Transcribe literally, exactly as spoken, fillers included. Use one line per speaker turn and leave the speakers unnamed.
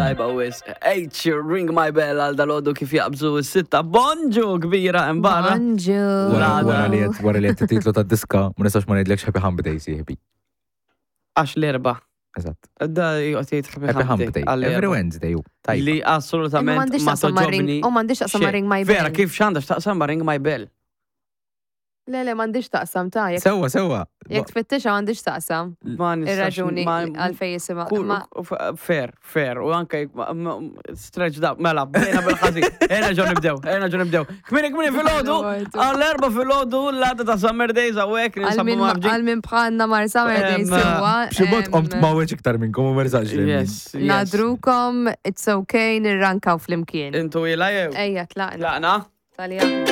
Tajba wis. H, Ring My Bell għal dal-għodu kif jaqbżu s-sitta. Bonġu kbira imbarra.
Bonġu.
Wara
Lada.
wara li qed- wara li qed titlu tad-diska, ma nistax ma ngħidlekx Happy Hump Day, sieħbi.
Għax l-erba.
Eżatt.
Da jgħot jgħid
Happy Hump Day. Every Wednesday, u. Tajba.
Li
Imma
assolutament
m'għandix
ma
taqsam ma' ring,
toġobni.
u m'għandix taqsam ma'
xejn.
Ring My Bell.
Vera, kif x'għandha x'taqsam ma' Ring My Bell?
Le, le, m'għandix taqsam ta' jekk
Sewwa, sewwa.
jekk tfittixa m'għandix taqsam.
Ma nistax.
Ir-raġuni
ma-
għalfej jisimha.
Kull-
Ma
f- Fair, fair, u anke jekk ma- ma- stretched up, mela, bdejna bil-ħażin. Ejna ġo nibdew, ejna ġo nibdew. Kmini, kmini fil-ħodu, għall-erba fil-ħodu, l-għada ta' Summer Days għawek,
għal
ninsabu
min
mafġi.
għal min bħalna mar Summer Days
Em,
sewwa.
B'xi mod
em,
qomt ma weġ iktar minnkom u merżax li.
Yes, yes.
Nadrukom, it's okay, nirrankaw flimkien.
Intu ila jew?
Ejja, tlaqna.
Tlaqna?
Talja.